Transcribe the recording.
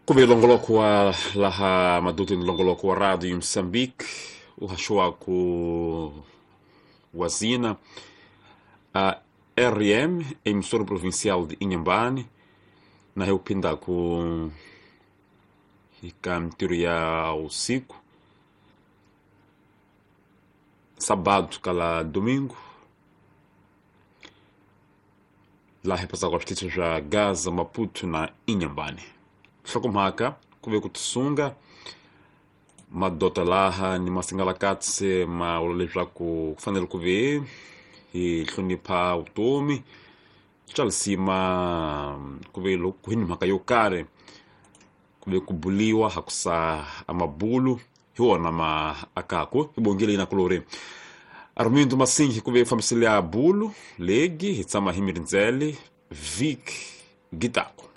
Ku ve longoloko wa laha madutini, longoloko wa Radio Moçambique u haxiwaku wazina a RM, emissora provincial de Inhambane, na hi kuphindaku eka mintirho ya usiku sábado kala domingo, laha hi pasaka switichi swa Gaza, Maputo na Inhambane. Nhlokomhaka ku ve ku tisunga madota laha ni masingalakatse ma vula leswaku ku fanele ku ve hi hlonipha vutomi swa lisima, ku ve loko hi ni mhaka yo karhi ku ve ku buliwa hakusa amabulu hi wona ma akaku. Hi bongile na kulori Armindo Masinghi ku ve fambisele ya bulu legi hi tshama hi mirindzele vhiki gitako.